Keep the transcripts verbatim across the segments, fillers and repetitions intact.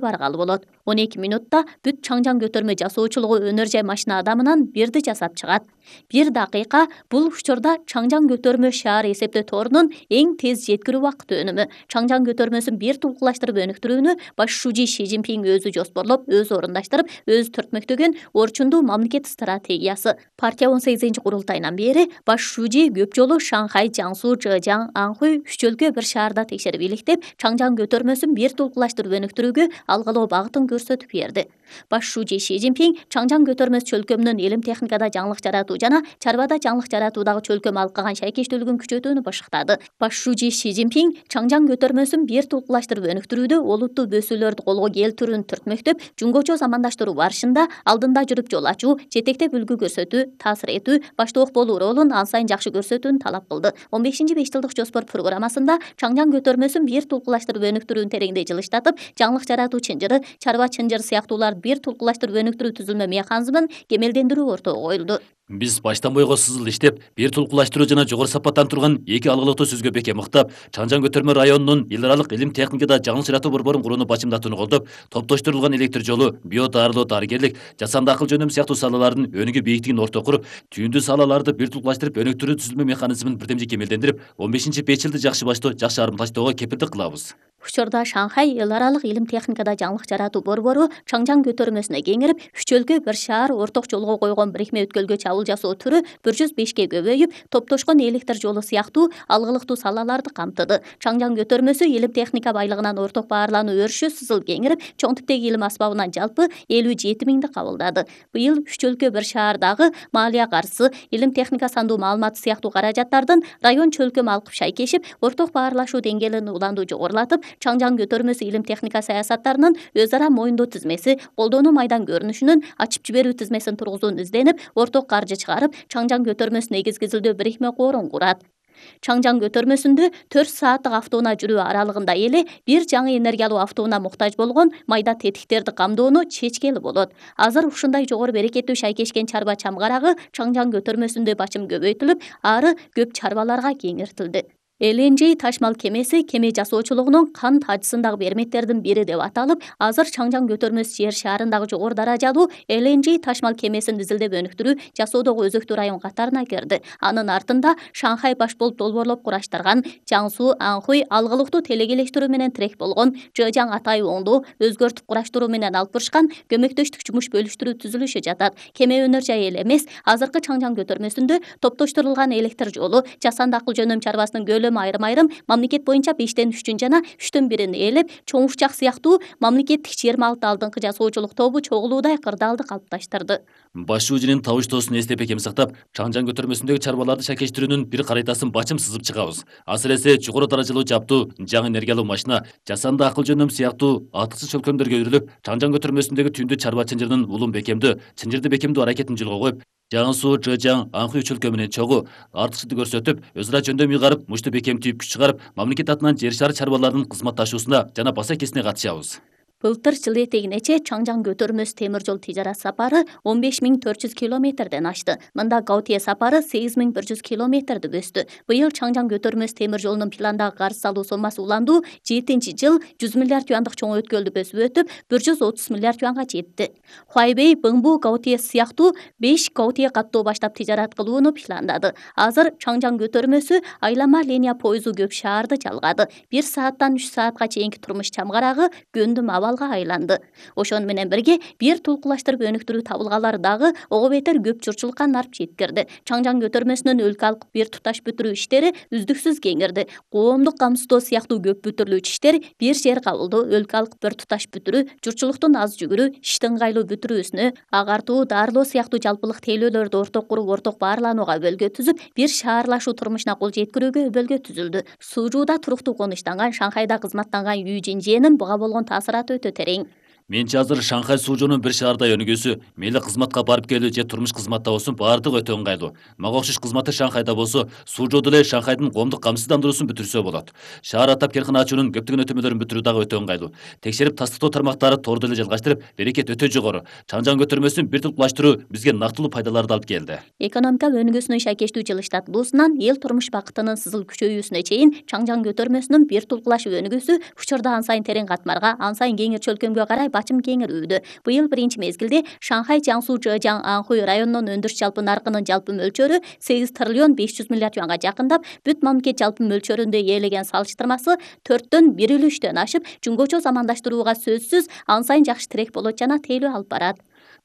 баргалы болот. он эки мүнөттө бүт чаңжаң көтөрмө жасоочулугу өнөр жай машина адамынан бирди жасап чыгат. бир дакыйка бул учурда чаңжаң көтөрмө шаар эсептөө торунун эң тез жеткирүү убакыты өнүмү. Чаңжаң көтөрмөсүн бир тулкулаштырып өнүктүрүүнү баш шүүжи Ши Цзиньпин өзү жоспорлоп, өзү орундаштырып, өзү төртмөктөгөн орчундуу мамлекет стратегиясы. Партия он сегизинчи курултайынан бери баш шүүжи көп жолу Шанхай, Жаңсу, Чжэжяң, Анхуй үч өлкө бир шаарда текшерип иликтеп, чаңжаң көтөрмөсүн бир тулкулаштырып өнүктүрүүгө алгылоо багытын көрсөтүп берди. Баш шүүжи Ши Цзиньпин чаңжаң көтөрмөс чөлкөмүнүн илим техникада жаңылык жаратуу жана чарбада жаңылык жаратуудагы чөлкөм алкаган шайкештүүлүгүн күчөтүүнү башыктады. Баш шүүжи Ши Цзиньпин чаңжаң көтөрмөсүн бир тулкулаштырып өнүктүрүүдө олуттуу бөсүүлөрдү колго келтирүүнү түртмөктөп, жумгочо замандаштыруу барышында алдында жүрүп жол ачуу, жетектеп үлгү көрсөтүү, таасир этүү, баштоок болуу ролун ан сайын жакшы көрсөтүүнү талап кылды. он бешинчи беш жылдык жоспор программасында чаңжаң көтөрмөсүн бир тулкулаштырып өнүктүрүүнү тереңдей жылыштатып, жаңылык жаратуу чынжыры, чарба чынжыры сыяктууларды бир тулкулаштырып өнүктүрүү түзүлмө механизмин кемелдендирүү ортого коюлду. Биз баштан бойго сызыл иштеп, бир тулкулаштыруу жана жогору сапаттан турган эки алгылыктуу сөзгө бекем ыктап, чаңжаң көтөрмө районунун эл аралык илим техникада жаңылык жаратуу борборун курууну бачымдатууну колдоп, топтоштурулган электр жолу, био дарылоо, дарыгерлик, жасанды акыл жөнөм сыяктуу салалардын өнүгүү бийиктигин орто куруп, түйүндүү салаларды бир тулкулаштырып өнүктүрүү түзүлмө механизмин бирдемжи кемелдендирип, он бешинчи беш жылды жакшы баштоо, жакшы арымташтоого кепилдик кылабыз. Учурда Шанхай эл аралык илим техникада жаңылык жаратуу борбору чаңжаң көтөрмөсүнө кеңирип, үч өлкө бир шаар орток жолго койгон бирикме өткөлгө чабуул жасоо түрү бир жүз бешке көбөйүп, топтошкон электр жолу сыяктуу алгылыктуу салаларды камтыды. Чаңжаң көтөрмөсү илим техника байлыгынан орток баарлануу өрүшү сызыл кеңирип, чоң типтеги илим асбабынан жалпы элүү жети миңди кабылдады. Быйыл үч өлкө бир шаардагы малия каржысы, илим техника сандуу маалыматы сыяктуу каражаттардын район чөлкөм алкып шайкешип, орток баарлашуу деңгээлин уланду жогорулатып, чаңжаң көтөрмөсү илим техника саясаттарынын өз ара моюндоо тизмеси, колдонуу майдан көрүнүшүнүн ачып жиберүү тизмесин тургузууну изденип, орток каржы чыгарып, чаңжаң көтөрмөсүн негизги изилдөө бирикме корун курат. Чаңжаң көтөрмөсүндө төрт сааттык автоунаа жүрүү аралыгында эле бир жаңы энергиялуу автоунаа муктаж болгон майда тетиктерди камдоону чечкели болот. Азыр ушундай жогору берекеттүү шайкешкен чарба чамгарагы чаңжаң көтөрмөсүндө бачым көбөйтүлүп, ары көп чарбаларга кеңиртилди. Эл Эн Жи ташмал кемеси кеме жасоочулугунун кант ажысындагы берметтердин бири деп аталып, азыр чаңжаң көтөрмөс жер шаарындагы жогору даражалуу Эл Эн Жи ташмал кемесин изилдеп өнүктүрүү жасоодогу өзөктүү район катарына кирди. Анын артында Шанхай баш болуп долбоорлоп кураштырган Жаңсу, Анхуй алгылыктуу телегелештирүү менен тирек болгон, Чжэжяң Атай оңдоо өзгөртүп кураштыруу менен алып барышкан көмөктөштүк жумуш бөлүштүрүү түзүлүшү жатат. Кеме өнөр жай эле эмес, азыркы чаңжаң көтөрмөсүндө топтоштурулган электр жолу, жасанды акыл жөнөм чарбасынын көлөмү айрым-айрым мамлекет боюнча бештен үчтүн жана үчтөн бирин ээлеп, чоң ушчак сыяктуу мамлекеттик жыйырма алты алдыңкы жасоочулук тобу чогулуудай кырдаалды калыпташтырды. Баш шүүжүнүн табыштоосун эстеп бекем сактап, чаңжаң көтөрмөсүндөгү чарбаларды шайкештирүүнүн бир карайтасын бачым сызып чыгабыз. Асыресе жогору даражалуу жаптуу, жаңы энергиялуу машина, жасанды акыл жөнөм сыяктуу атыксыз чөлкөмдөргө өрүлүп, чаңжаң көтөрмөсүндөгү түйүндүү чарба чынжырынын улум бекемдүү, чынжырды бекемдүү аракетин жолго коюп, Жаңсу, Чжэжяң, Анхуй чөлкөмүнүн чогуу артыкчылықты көрсөтүп, өз ара жөндөм ыйгарып, мушту бекемтүүп күч чыгарып, мамлекет атынан жер шары чарбаларынын кызматташуусуна жана баса кесине катышабыз. Былтыр жыл этегинече чаңжаң көтөрмөс темир жол тижарат сапары он беш миң төрт жүз километрден ашты. Мында Гаутие сапары сегиз миң бир жүз километрди өстү. Быйыл чаңжаң көтөрмөс темир жолунун пландагы карыз салуу сомасы уланду жетинчи жыл жүз миллиард юандык чоң өткөлдү бөсүп өтүп, бир жүз отуз миллиард юанга жетти. Хуайбей, Быңбу, Гаутие сыяктуу беш Гаутие каттоо баштап тижарат кылууну пландады. Азыр чаңжаң көтөрмөсү айлама линия поезу көп шаарды жалгады. бир сааттан үч саатка чейинки турмуш чамгарагы гөндүм абал айланды. Ошону менен бирге бир тулкулаштырып өнүктүрүү табылгалары дагы ого бетер көп журтчулукка нарп жеткирди. Чаңжаң көтөрмөсүнүн өлкө алкып бир туташ бүтүрүү иштери үздүксүз кеңирди. Коомдук камсыздоо сыяктуу көп бүтүрүлүүчү иштер, бир жер кабылдоо, өлкө алкып бир туташ бүтүрүү, журтчулуктун аз жүгүрүү, иштин ыңгайлуу бүтүрүүсүнө, агартуу, дарылоо сыяктуу жалпылык тейлөөлөрдү орток куруп, орток баарланууга өбөлгө түзүп, бир шаарлашуу турмушуна кол жеткирүүгө өбөлгө түзүлдү. Суужуда туруктуу конуштанган, Шанхайда кызматтанган Ю Жинжэнин буга болгон таасираты өтө терең. Менчи азыр Шанхай суужоонун бир шаардай өнүгүүсү, мейли кызматка барып келүү же турмуш кызматта болсун баардыгы өтө ыңгайлуу. Мага окшош кызматы Шанхайда болсо, суужоодо эле Шанхайдын коомдук камсыздандыруусун бүтүрсө болот. Шаар атап каркана ачуунун көптөгөн өтөмөлөрүн бүтүрүү дагы өтө ыңгайлуу. Текшерип тастыктоо тармактары тоордо эле жалгаштырып, берекет өтө жогору. Чаңжаң көтөрмөсүн бир тулкулаштыруу бизге нактылуу пайдаларды алып келди. Экономика өнүгүүсүнүн шайкештүү жылыштатылуусунан эл турмуш бакытынын сызыл күчөйүүсүнө чейин Чаңжаң көтөрмөсүнүн бир тулкулашып өнүгүүсү учурда ан сайын терең катмарга, ан сайын кеңир чөлкөмгө карай бачым кеңирүүдө. Быйыл биринчи мезгилде Шанхай Жаңсу Жэжаң Анхуй районунун өндүрүш жалпы наркынын жалпы мөлчөрү сегиз триллион беш жүз миллиард юанга жакындап, бүт мамлекет жалпы мөлчөрүндө ээлеген салыштырмасы төрттөн бир үлүштөн ашып, жөнгөчө замандаштырууга сөзсүз ан сайын жакшы тирек болот жана тейлөө алып барат.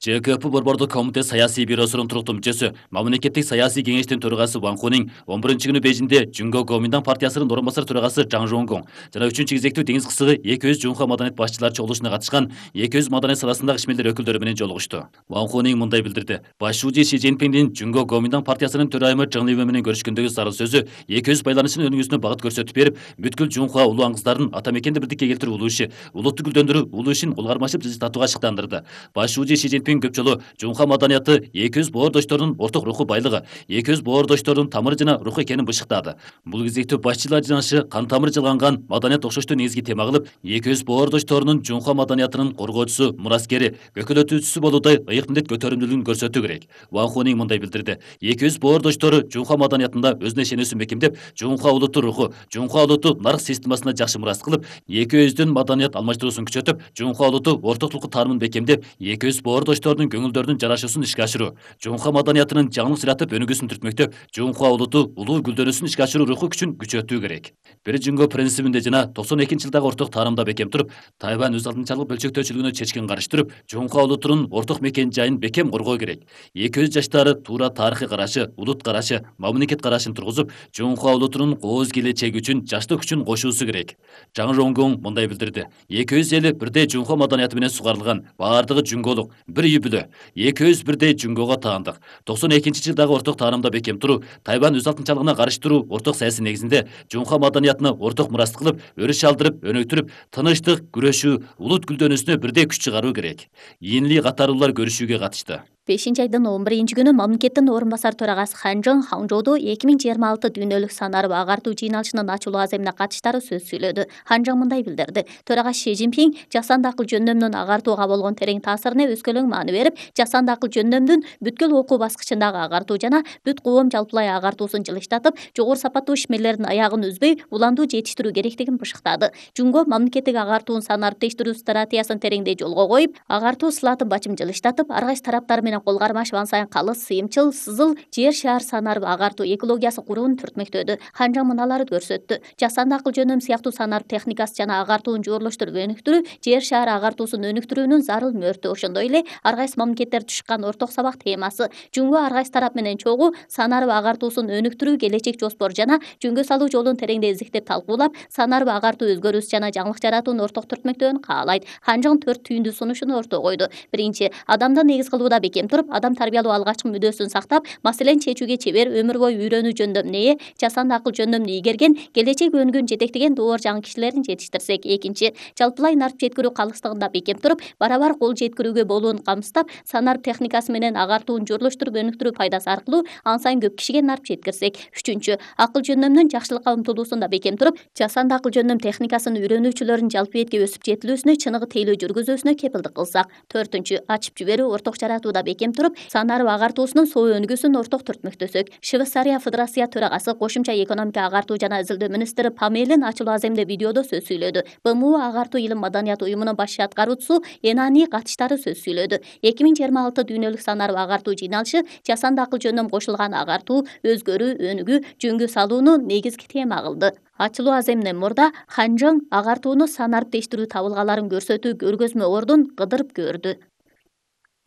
ЖКП борбордук комитет саясий бюросунун туруктуу мүчөсү, мамлекеттик саясий кеңештин төрагасы Ван Хунин он биринчи күнү Бейжиңде Жүнгө Гоминдан партиясынын орун басар төрагасы Жаң Жонгон жана үчүнчү кезектүү деңиз кысыгы эки жүз жунха маданият башчылары чогулушуна катышкан эки жүз маданият саласындагы ишмерлер өкүлдөрү менен жолугушту. Ван Хунин мындай билдирди: Баш шууji Ши Цзиньпиндин Жүнгө Гоминдан партиясынын төрайымы Чжың Либэ менен көрүшкөндөгү зарыл сөзү эки жүз байланышынын өнүгүүсүнө багыт көрсөтүп берип, бүткүл жунха улуу аңгыздардын ата мекенди бирдикке келтирүү улуу иши, улутту гүлдөндүрүү улуу ишин улгармашып жылжытууга шыктандырды. Баш шууji Ши Цзиньпин көп жолу жунха маданияты эки жүз боордоштордун орток руху байлыгы, эки жүз боордоштордун тамыры жана руху экенин бышыктады. Бул кезектүү башчылар жынашы кан тамыры жалганган маданият окшоштуу негизги тема кылып, эки жүз боордошторунун жунха маданиятынын коргоочусу, мураскери, көкөлөтүүчүсү болуудай ыйык милдет көтөрүмдүүлүгүн көрсөтүү керек. Ван Хунин мындай билдирди: эки жүз боордоштору жунха маданиятында өзүнө ишенүүсүн бекемдеп, жунха улутту руху, жунха улутту нарык системасына жакшы мурас кылып, эки жүздүн маданият алмаштыруусун күчөтүп, жунха улутту ортоктукту таанымын бекемдеп, эки жүз боордоштордун көңүлдөрүнүн жарашуусун ишке ашыруу, жунха маданиятынын жаңылык жаратып өнүгүүсүн түртмөктөп, жунха улутту улуу гүлдөнүүсүн ишке ашыруу руху күчүн күчөтүү керек. Бир Жүнгө принцибинде жана токсон экинчи жылдагы орток таанымда бекем туруп, Тайвань өз алдынчалык бөлчөктөөчүлүгүнө чечкин каршы туруп, жунха улутунун орток мекен жайын бекем коргоо керек. эки жүз жаштары туура тарыхый карашы, улут карашы, мамлекет карашын тургузуп, жунха улутунун кооз келечеги үчүн жаштык күчүн кошуусу керек. Жаң Жонгон мындай билдирди: эки жүз эли бирдей жунха маданияты менен сугарылган, баардыгы жүнгөлүк, бир үй бүлө. эки жүз бирдей жүнгөгө таандык. токсон экинчи жылдагы орток таанымда бекем туруу, Тайвань өз алдынчалыгына каршы туруу орток саясий негизинде жунха маданиятына орток мурас кылып, өрүш алдырып, өнүктүрүп, тынычтык, күрөшүү, улут гүлдөнүүсүнө бирдей күч чыгаруу керек. Ийинли катарлуулар көрүшүүгө катышты. бешинчи айдын он биринчи күнү мамлекеттин орун басар төрагасы Хан Жың Хаңжоодо эки миң жыйырма алты дүйнөлүк санарып агартуу жыйналышынын ачылуу аземине катыштары сөз сүйлөдү. Хан Жың мындай билдирди: Төрага Ши Цзиньпин жасанды акыл жөндөмүнүн агартууга болгон терең таасирине өскөлөң маани берип, жасанды акыл жөндөмдүн бүткүл окуу баскычындагы агартуу жана бүт коом жалпылай агартуусун жылыштатып, жогору сапаттуу ишмерлердин аягын үзбөй уландуу жетиштирүү керектигин бышыктады. Жүнгө мамлекеттик агартуунун санарып тештирүү стратегиясын тереңдей жолго коюп, агартуу сылатын бачым жылыштатып, ар кайсы тараптар менен кол кармашып, ан сайын калыс, сыйымчыл, сызыл жер шаар санарып агартуу экологиясы курууну түртмөктөдү. Хан Жың мыналарды көрсөттү: жасанды акыл жөндөм сыяктуу санарып техникасы жана агартууну жooрлоштуруп өнүктүрүү жер шаар агартуусун өнүктүрүүнүн зарыл мөөртү. Ошондой эле ар кайсы мамлекеттер түшкан орток сабак темасы. Жүнгө ар кайсы тарап менен чогуу санарып агартуусун өнүктүрүү келечек жоспор жана жөнгө салуу жолун тереңдей изиктеп талкуулап, санарып агартуу өзгөрүүс жана жаңылык жаратуунун орток түртмөктөөнү каалайт. Хан Жың төрт түйүндүү сунушун ортого койду. Биринчи, адамды негиз кылууда бекем туруп, адам тарбиялоо алгачкы мүдөөсүн сактап, маселени чечүүгө чебер, өмүр бою үйрөнүү жөндөмүнө ээ, жасанды акыл жөндөмүн ийгерген, келечек өнүгүүн жетектеген доор жаңы кишилерин жетиштирсек. Экинчи, жалпылай нарып жеткирүү калыстыгында бекем туруп, барабар кол жеткирүүгө болуун камсыздап, санарып техникасы менен агартууну жooрлоштуруп өнүктүрүү пайдасы аркылуу ан сайын көп кишиге нарып жеткирсек. Үчүнчү, акыл жөндөмүнүн жакшылыкка умтулуусунда бекем туруп, жасанды акыл жөндөм техникасын үйрөнүүчүлөрдүн жалпы бетке өсүп жетилүүсүнө чыныгы тейлөө жүргүзүүсүнө кепилдик кылсак. Төртүнчү, ачып жиберүү орток жаратууда бекем туруп, санарып агартуусунун соо өнүгүүсүн орток түртмөктөсөк. Швейцария Федерация төрагасы, кошумча экономика агартуу жана изилдөө министри Памелин ачылуу аземде видеодо сөз сүйлөдү. Б М У агартуу илим маданият уюмунун баш аткаруучусу Энани катыштары сөз сүйлөдү. эки миң жыйырма алты дүйнөлүк санарып агартуу жыйналышы жасанды акыл жөндөм кошулган агартуу, өзгөрүү, өнүгүү, жөнгө салууну негизги тема кылды. Ачылуу аземинен мурда Хан Жың агартууну санарып тештирүү табылгаларын көрсөтүү көргөзмө ордун кыдырып көрдү.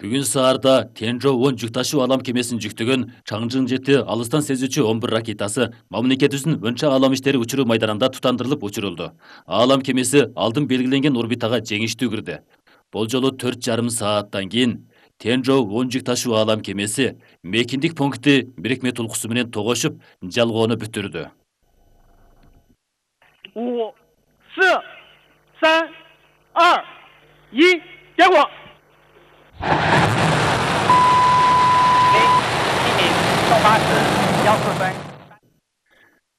Бүгүн саарда Тенжо он жүк ташуу алам кемесин жүктөгөн Чаңжың жети алыстан сезүүчү он бир ракетасы мамлекетибиздин Өнчө алам иштери учуруу майданында тутандырылып учурулду. Алам кемеси алдын белгиленген орбитага жеңиштүү кирди. Бул жолу төрт жарым сааттан кийин Тенжо он жүк ташуу алам кемеси мекиндик пункти бирикме тулкусу менен тогошуп, жалгоону бүтүрдү.五、四、三、二、一结果，送巴士幺四分。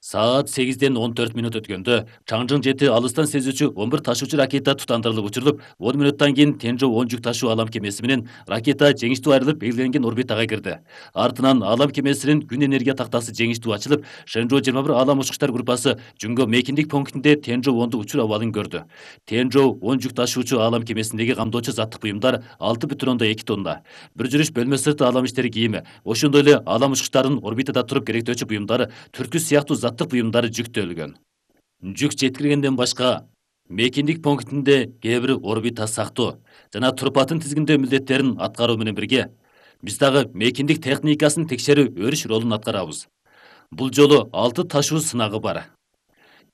Саат сегизден он төрт мүнөт өткөндө Чаңжың жети алыстан сезүүчү он бир ташуучу ракета тутандырылып учурулуп, он мүнөттөн кийин Тенжо он жүк ташуу алам кемеси менен ракета жеңиштүү айрылып белгиленген орбитага кирди. Артынан алам кемесинин күн энергия тактасы жеңиштүү ачылып, Шэнжоу жыйырма бир алам учкучтар группасы Жүнгө мейкиндик пунктинде Тенжо онду учур абалын көрдү. Тенжо он жүк ташуучу алам кемесиндеги камдоочу заттык буюмдар алты бүтүн ондон эки тонна. Бир жүрүш бөлмө сырты алам иштери кийими, ошондой эле алам учкучтардын орбитада туруп керектөөчү буюмдары, түрткү сыяктуу заттык буюмдары жүктөлгөн. Жүк жеткиргенден башка мейкиндик пунктинде кээ бир орбита сактоо жана турпатын тизгиндөө милдеттерин аткаруу менен бирге биз дагы мейкиндик техникасын текшерүү өрүш ролун аткарабыз. Бул жолу алты ташуу сынагы бар.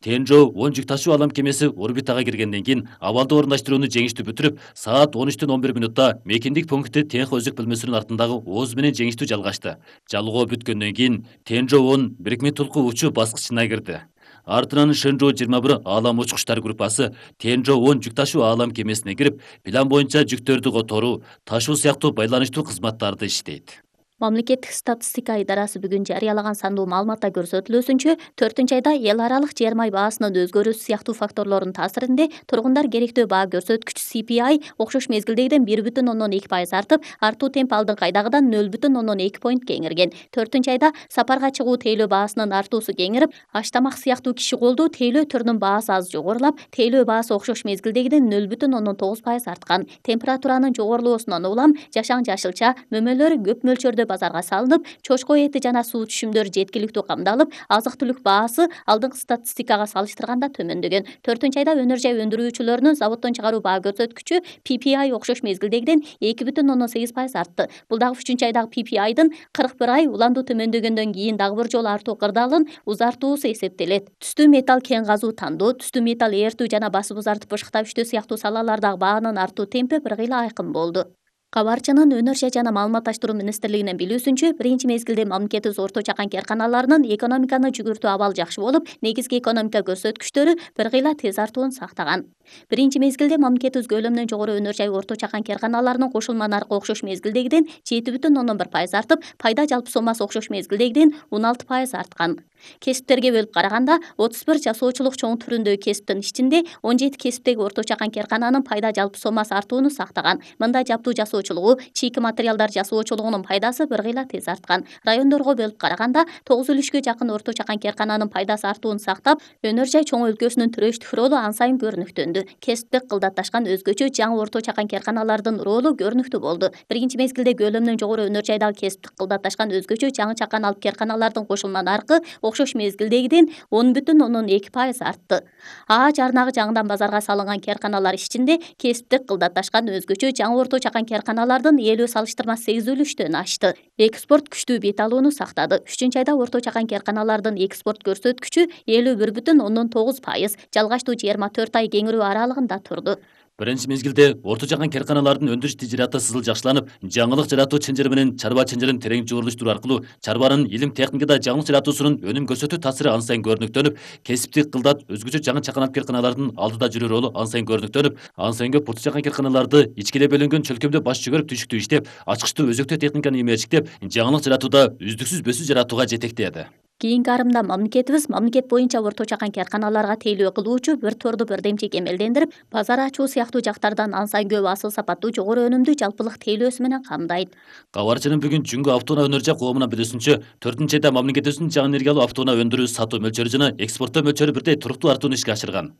Тенжо он жүк ташуу алам кемеси орбитага киргенден кийин абалды орундаштырууну жеңиштүү бүтүрүп, саат он үчтөн он бир мүнөттө мейкиндик пункти Тенхо өзөк бөлмөсүнүн артындагы ооз менен жеңиштүү жалгашты. Жалгоо бүткөндөн кийин Тенжо он бирикме толку учуу баскычына кирди. Артынан Шэнжоу жыйырма бир алам учкучтар группасы Тенжо он жүк ташуу алам кемесине кирип, план боюнча жүктөрдү которуу, ташуу сыяктуу байланыштуу кызматтарды иштейт. Мамлекеттик статистика идарасы бүгүн жарыялаган сандуу маалыматта көрсөтүлүүсүнчө, төртүнчү айда эл аралык жер май баасынын өзгөрүүсү сыяктуу факторлордун таасиринде тургундар керектөө баа көрсөткүч C P I окшош мезгилдегиден бир бүтүн ондон эки пайыз артып, артуу темп алдыңкы айдагыдан нөл бүтүн ондон эки поинт кеңирген. төртүнчү айда сапарга чыгуу тейлөө баасынын артуусу кеңирип, аштамак сыяктуу киши колдуу тейлөө түрүнүн баасы аз жогорулап, тейлөө баасы окшош мезгилдегиден нөл бүтүн ондон тогуз пайыз арткан. Температуранын жогорулуусунан улам жашаң жашылча мөмөлөр көп мөлчөрдө базарга салынып, чочко эти жана суу түшүмдөрү жеткиликтүү камдалып, азык-түлүк баасы алдыңкы статистикага салыштырганда төмөндөгөн. төртүнчү айда өнөр жай өндүрүүчүлөрүнүн заводдон чыгаруу баа көрсөткүчү P P I окшош мезгилдегиден эки бүтүн ондон сегиз пайыз артты. Бул дагы үчүнчү айдагы P P I'дын кырк бир ай уландуу төмөндөгөндөн кийин дагы бир жолу артуу кырдаалын узартуусу эсептелет. Түстүү металл кен казуу тандоо, түстүү металл эртүү жана басып узартып бышыктап иштөө сыяктуу салалардагы баанын артуу темпи бир кыйла айкын болду. Кабарчынын өнөр жай жана маалыматташтыруу министрлигинин билүүсүнчө, биринчи мезгилде мамлекетибиз орто чакан керканаларынын экономиканы жүгүртүү абалы жакшы болуп, негизги экономика көрсөткүчтөрү бир кыйла тез артуун сактаган. Биринчи мезгилде мамлекетибиз көлөмүнөн жогору өнөр жай орто чакан керканаларынын кошулма наркы окшош мезгилдегиден жети бүтүн ондон бир пайыз артып, пайда жалпы сомасы окшош мезгилдегиден он алты пайыз арткан. Кесиптерге бөлүп караганда, отуз бир жасоочулук чоң түрүндөгү кесиптин ичинде он жети кесиптеги орто чакан керкананын пайда жалпы сомасы артууну сактаган. Мында жаптуу жасоочулугу, чийки материалдар жасоочулугунун пайдасы бир кыйла тез арткан. Райондорго бөлүп караганда, тогуз үлүшкө жакын орто чакан керкананын пайдасы артуун сактап, өнөр жай чоң өлкөсүнүн төрөштүк ролу ан сайын көрүнүктөндү. Кесиптик кылдатташкан өзгөчө жаңы орто чакан керканалардын ролу көрүнүктүү болду. Биринчи мезгилде көлөмүнөн жогору өнөр жайдагы кесиптик кылдатташкан өзгөчө жаңы чакан алып керканалардын кошулма наркы окшош мезгилдегиден он бүтүн ондон эки пайыз артты. А жарнагы жаңыдан базарга салынган керканалар ичинде кесиптик кылдатташкан өзгөчө жаңы орто чакан керканалардын элүү салыштырма сегиз үлүштөн ашты. Экспорт күчтүү бет алууну сактады. үчүнчү айда орто чакан керканалардын экспорт көрсөткүчү элүү бир бүтүн ондон тогуз пайыз, жалгаштуу жыйырма төрт ай кеңирүү аралыгында турду. Биринчи мезгилде орто чакан керканалардын өндүрүш тижираты сызыл жакшыланып, жаңылык жаратуу чынжыры менен чарба чынжырын терең жуурулуштуруу аркылуу чарбанын илим техникада жаңылык жаратуусунун өнүм көрсөтүү таасири ан сайын көрүнүктөнүп, кесиптик кылдат өзгөчө жаңы чакан алып керканалардын алдыда жүрүү ролу ан сайын көрүнүктөнүп, ан сайын көп орто чакан керканаларды ичкиле бөлүнгөн чөлкөмдө баш жүгөрүп түшүктүү иштеп, ачкычтуу өзөктөө техниканы имештиктеп, жаңылык жаратууда үздүксүз өсүү жаратууга жетектеди. Кийинки арымда мамлекетибиз мамлекет боюнча орто чакан керканаларга тейлөө кылуучу бир торду бирдемчек эмелдендирип, базар ачуу сыяктуу жактардан ан сайын көп асыл сапаттуу жогору өнүмдүү жалпылык тейлөөсү менен камдайт. Кабарчынын бүгүн Жүнгө автоунаа өнөр жай коомунун билүүсүнчө, төртүнчү айда мамлекетибиздин жаңы энергиялуу автоунаа өндүрүү сатуу мөлчөрү жана экспорттоо мөлчөрү бирдей туруктуу артууну ишке ашырган.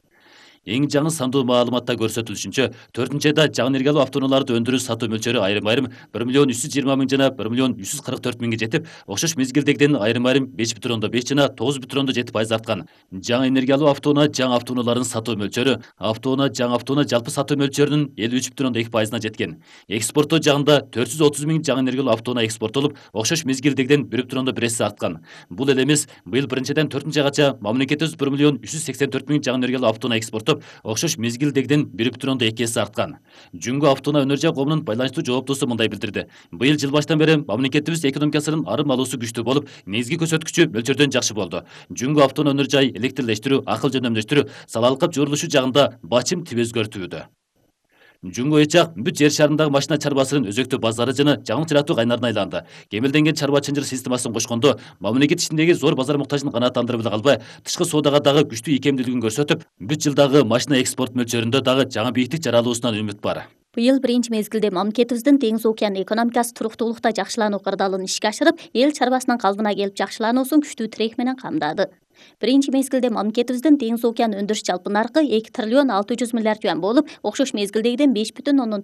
Эң жаңы сандуу маалыматта көрсөтүлүшүнчө, төртүнчү айда жаңы энергиялуу автоунааларды өндүрүү сатуу мөлчөрү айрым-айрым бир миллион үч жүз жыйырма миң жана бир миллион үч жүз кырк төрт миңге жетип, окшош мезгилдегиден айрым-айрым беш бүтүн ондон беш жана тогуз бүтүн ондон жети пайыз арткан. Жаңы энергиялуу автоунаа жаңы автоунааларын сатуу мөлчөрү, автоунаа жаңы автоунаа жалпы сатуу мөлчөрүнүн элүү үч бүтүн ондон эки пайызына жеткен. Экспорттоо жагында төрт жүз отуз миң жаңы энергиялуу автоунаа экспорттолуп, окшош мезгилдегиден бир бүтүн ондон бир эсе арткан. Бул эле эмес, быйыл биринчиден төртүнчү айгача мамлекетибиз бир миллион үч жүз сексен төрт миң жаңы энергиялуу автоунаа экспорттоп, окшош мезгилдегиден бир бүтүн ондон эки эсе арткан. Жүнгө автоунаа өнөр жай коомунун байланыштуу жооптуусу мындай билдирди. Быйыл жыл баштан бери мамлекетибиз экономикасынын арым алуусу күчтүү болуп, негизги көрсөткүчү мөлчөрдөн жакшы болду. Жүнгө автоунаа өнөр жай электрлештирүү, акыл жөнөмдөштүрүү, салалыкка жуурулушу жагында бачым тип өзгөртүүдө. Жумго ычак бүт жер шарындагы машина чарбасынын өзөктүү базары жана жаңы чыратуу кайнарына айланды. Кемелденген чарба чынжыр системасын кошкондо мамлекет ичиндеги зор базар муктажын канааттандырып эле калбай, тышкы соодага дагы күчтүү ийкемдүүлүгүн көрсөтүп, бүт жылдагы машина экспорт мөлчөрүндө дагы жаңы бийиктик жаралуусунан үмүт бар. Быйыл биринчи мезгилде мамлекетибиздин Деңиз океан экономикасы туруктуулукта жакшылануу кырдаалын ишке ашырып, эл чарбасынын калыбына келип жакшылануусун күчтүү тирек менен камдады. Биринчи мезгилде мамлекетибиздин Деңиз океан өндүрүш жалпы наркы эки триллион алты жүз миллиард юан болуп, окшош мезгилдегиден беш бүтүн ондон